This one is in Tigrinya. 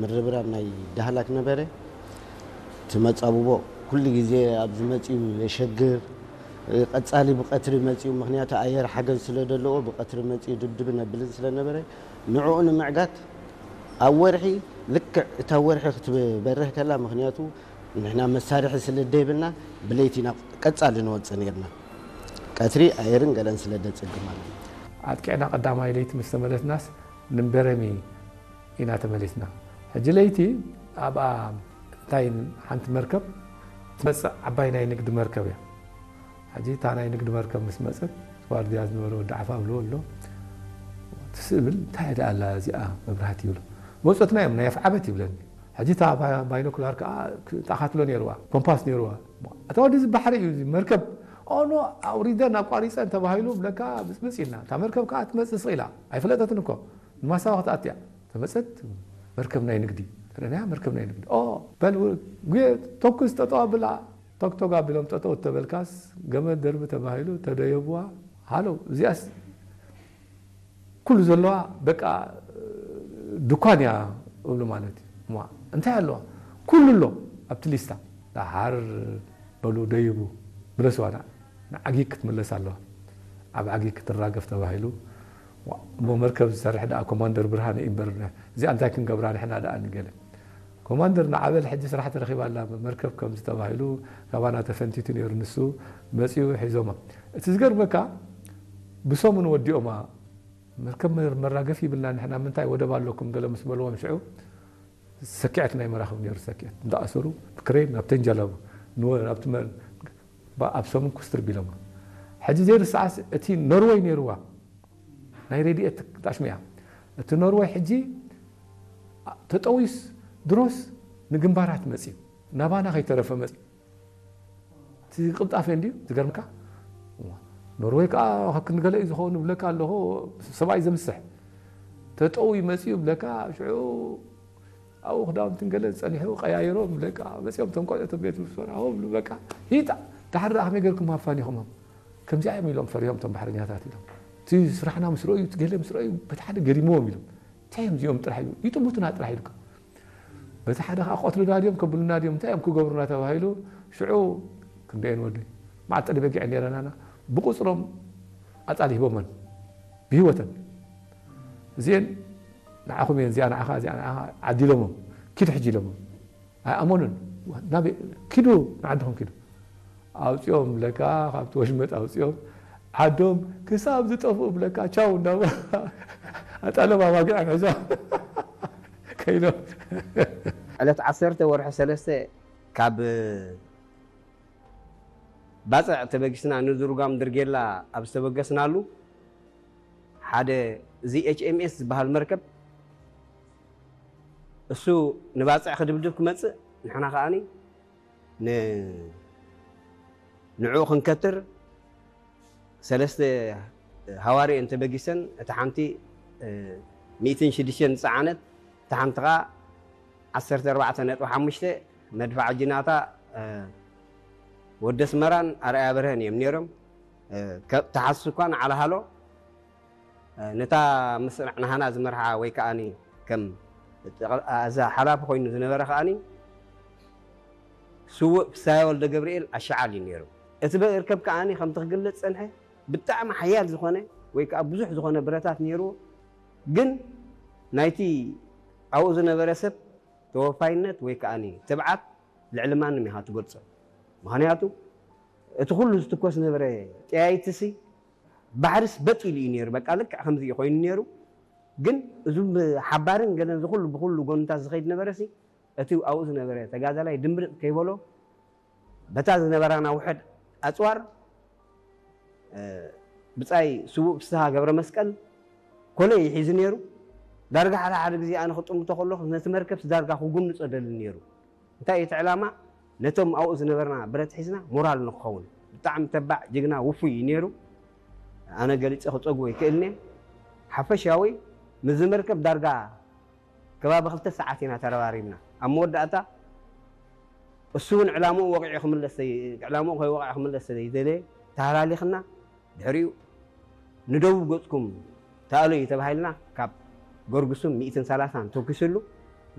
ምርብራብ ናይ ዳህላክ ነበረ። እቲ መጻብቦ ኩሉ ግዜ ኣብ ዝመጽኡ የሸግር። ቀጻሊ ብቐትሪ መጽኡ፣ ምኽንያቱ ኣየር ሓገዝ ስለ ዘለዎ ብቐትሪ መጽኡ ድብድብን ኣብልን ስለ ነበረ፣ ንዕኡ ንምዕጋት ኣብ ወርሒ፣ ልክዕ እታ ወርሒ ክትበርህ ከላ፣ ምኽንያቱ ንሕና መሳርሒ ስለ ደይብልና፣ ብለይቲ ኢና ቀጻሊ ንወጽእ ነርና። ቀትሪ ኣየርን ገለን ስለ ደጸግም ማለት እዩ። ኣጥቂዕና ቀዳማይ ለይቲ ምስ ተመለስናስ፣ ንበረሚ ኢና ተመሊስና። ሕጂ ለይቲ ኣብኣ እንታይ፣ ሓንቲ መርከብ ትመጽእ፣ ዓባይ ናይ ንግዲ መርከብ እያ። ሕጂ እታ ናይ ንግዲ መርከብ ምስ መጸት፣ ዋርድያ ዝነበረ ወዲ ዓፋ ብሎ ኣሎ። ትስእ ብል፣ "እንታይ ደኣ ኣላ እዚኣ መብራህቲ?" ይብሎ። መጾትና እዮም፣ "ናይ ኣፍዓበት" ይብለኒ። ሕጂ እታ ባ-፣ ባይኖኩላር ከኣ ክ-፣ ተኣኻትሎ ነይርዋ፣ ኮምፓስ ነይርዋ። "እታ ወዲ እዚ ባሕሪ እዩ፣ እዚ መርከብ፣ ኦኖ ኣውሪደን ኣቋሪጸን" ተባሂሉ ብለካ ብጽብጽ ኢልና። እታ መርከብ ከኣ ትመጽእ ስቕ ኢላ፣ ኣይፈለጠትን እኮ፣ ንማሳዋ ክትኣትያ። ተመጸት፣ መርከብ ናይ ንግዲ። ተረድያ፣ መርከብ ናይ ንግዲ። "ኦ፣ በል፣ ው-፣ ጉየ፣ ተኩስ፣ ጠጠው ኣብላ።" ቶክቶክ ኣቢሎም ጠጠው ተበልካስ፣ ገመድ ደርቢ ተባሂሉ፣ ተደየብዋ። ሃሎ፣ እዚኣስ ኩሉ ዘለዋ፣ በቃ፣ ድኳን እያ እብሉ ማለት እዩ። እማ እንታይ ኣለዋ? ኩሉ ኣሎ ኣብቲ ሊስታ። ደሓር በሉ፣ ደይቡ፣ ምለስዋ፣ ንዓ-፣ ንዓጊግ ክትምለስ ኣለዋ። ኣብ ዓጊግ ክትራገፍ ተባሂሉ። ዋ፣ እሞ መርከብ ዝሰርሕ ደኣ ኮማንደር ብርሃነ እዩ እምበር፣ እዚኣ እንታይ ክንገብራ ንሕና ደኣ ንገለ። ኮማንደር ንዓ በል፣ ሕጂ ስራሕ ተረኺባ ኣላ መርከብ ከምዚ ተባሂሉ፣ ካባና ተፈንቲቱ ነይሩ፣ ንሱ መጺኡ ሒዞማ። እቲ ዝገርመካ፣ ብሰሙን ወዲኦማ። መርከብ መር-፣ መራገፊ ይብልና ንሕና፣ ምንታይ ወደብ ኣለኩም ገለ ምስ በልዎም ሽዑ፣ ሰኪዐት ናይ መራኽብ ነይሩ፣ ሰኪዐት እንዳኣሰሩ ብክሬን ናብ ተንጀላቡ ንወ-፣ ናብቲ መ-፣ ባ-፣ ኣብ ሰሙን ኩስትር ቢሎማ። ሕጂ ዘይርስዓስ እቲ ኖርወይ ነይርዋ፣ ናይ ሬድኤት ጣሽሚያ። እቲ ኖርወይ ሕጂ ተጠዊስ ድሮስ ንግንባራት መጽዩ፣ ናባና ከይተረፈ መጽዩ። እቲ ቅልጣፌ እንድዩ ዝገርምካ። ኖርወይ ከኣ ካብ ክንገለ እዩ ዝኸውን ብለካ ኣለኹ፣ ሰብኣይ ዘምስሕ። ተጠዊ መጽዩ ብለካ፣ ሽዑ ኣብኡ ክዳውንትን ገለ ጸኒሑ ቀያይሮም ብለካ፣ መጽዮም እቶም ቆልዑ እቶም ቤት ብሶራ፣ ሆ ብሉ በቃ፣ ሂጣ፣ ድሓር ደኣ ከመይ ገርኩም ኣፋኒኹሞም? ከምዚኣ እዮም ኢሎም ፈሪሆም እቶም ባሕረኛታት ኢሎም። እቲ ስራሕና ምስ ረእዩ፣ እቲ ገለ ምስ ረእዩ፣ በቲ ሓደ ገሪምዎም ኢሎም። እንታይ እዮም እዚኦም ጥራሕ ኢሉ፣ ይጥምቱና ጥራሕ ኢልካ። በቲ ሓደ ከኣ ክቐትሉና ድዮም፣ ከብሉና ድዮም፣ እንታይ እዮም ክገብሩና ተባሂሉ፣ ሽዑ ክንደየን ወደይ፣ መዓት ጠሊ በጊዕ ነይረናና፣ ብቁጽሮም ኣጻል ሂቦመን፣ ብህይወተን። እዚኤን ንዓኹም እየን፣ እዚኣ ንዓኻ፣ እዚኣ ንዓኻ፣ ዓዲሎሞም፣ ኪዱ ሕጂ ኢሎሞም። ኣይኣመኑን። ናበይ? ኪዱ፣ ንዓድኹም ኪዱ። ኣውጺኦም ብለካ፣ ካብቲ ወሽመጥ ኣውጺኦም፣ ዓዶም ክሳብ ዝጠፍኡ ብለካ፣ ቻው እንዳበ-፣ ኣጣሎም ኣባጊዖም ሒዞም ከይዶም። ዕለት ዓሰርተ ወርሒ ሰለስተ ካብ ባጽዕ ተበጊስና ንዝሩጋም ድርጌላ ኣብ ዝተበገስናሉ፣ ሓደ እዚ ኤች ኤም ኤስ ዝበሃል መርከብ፣ እሱ ንባጽዕ ክድብድብ ክመጽእ፣ ንሕና ከኣኒ ን-፣ ንዕኡ ክንከትር ሰለስተ ሃዋሪ እየን ተበጊሰን፣ እታ ሓንቲ፣ እ፣ ሚእትን ሽዱሽተን ዝጸዓነት፣ እታ ሓንቲ ከኣ ዓሰርተ ኣርባዕተ ነጥቢ ሓሙሽተ መድፍዓ ጅናታ፣ እ፣ ወዲ ኣስመራን ኣርኣያ በርሀን እዮም ነይሮም። እ፣ ከ-፣ ተሓስስ እኳ ንዓል ሃሎ፣ እ፣ ነታ ምስራዕ ናህና ዝመርሓ ወይ ከኣኒ ከም ጠቕ-፣ እዛ ሓላፊ ኮይኑ ዝነበረ ከኣኒ ስዉእ ፍስሃየ ወልደ ገብርኤል ኣሻዓል እዩ ነይሩ። እቲ መርከብ ከኣኒ ከምቲ ክግለጽ ጸንሐ ብጣዕሚ ሓያል ዝኾነ ወይ ከኣ ብዙሕ ዝኾነ ብረታት ነይርዎ። ግን ናይቲ ኣብኡ ዝነበረ ሰብ ተወፋይነት ወይ ከኣኒ ትብዓት ልዕሊ ማንም ኢኻ ትገልጾ። ምኽንያቱ እቲ ኩሉ ዝትኮስ ዝነበረ ጠያይትሲ ባሕሪስ በጥ ኢሉ እዩ ነይሩ። በቃ ልክዕ ከምዚ እዩ ኮይኑ ነይሩ። ግን እዙም ሓባርን ገለን ዝኹሉ ብኹሉ ጎንታት ዝኸይድ ነበረሲ እቲ ኣብኡ ዝነበረ ተጋዳላይ ድምብርጥ ከይበሎ በታ ዝነበራና ውሕድ ኣጽዋር፣ እ፣ ብጻይ ስዉእ ፍስሃ ገብረ መስቀል ኮለይ ሒዙ ነይሩ። ዳርጋ ሓደ ሓደ ግዜ ኣነ ክጥምቶ ከለኹ ነቲ መርከብስ ዳርጋ ክጉንጾ ደሊ ነይሩ። እንታይ እዩ እቲ ዕላማ? ነቶም ኣብኡ ዝነበርና ብረት ሒዝና ሞራል ንክኸውን። ብጣዕሚ ተባዕ፣ ጅግና፣ ውፉይ እዩ ነይሩ። ኣነ ገሊጸ ክጸግቦ ኣይክእልን እየ። ሓፈሻዊ ምስዚ መርከብ ዳርጋ ከባቢ ክልተ ሰዓት ኢና ተረባሪብና። ኣብ መወዳእታ እሱ እውን ዕላምኡ ወቒዑ ክምለስ ዘይ-፣ ዕላምኡ ከይወቕዐ ክምለስ ዘይደለየ ተሃላሊኽና፣ ድሕሪኡ ንደቡብ ገጽኩም ተኣለዩ ተባሂልና ካብ ገርግሱን ሚእትን ሰላሳን ተኩስሉ።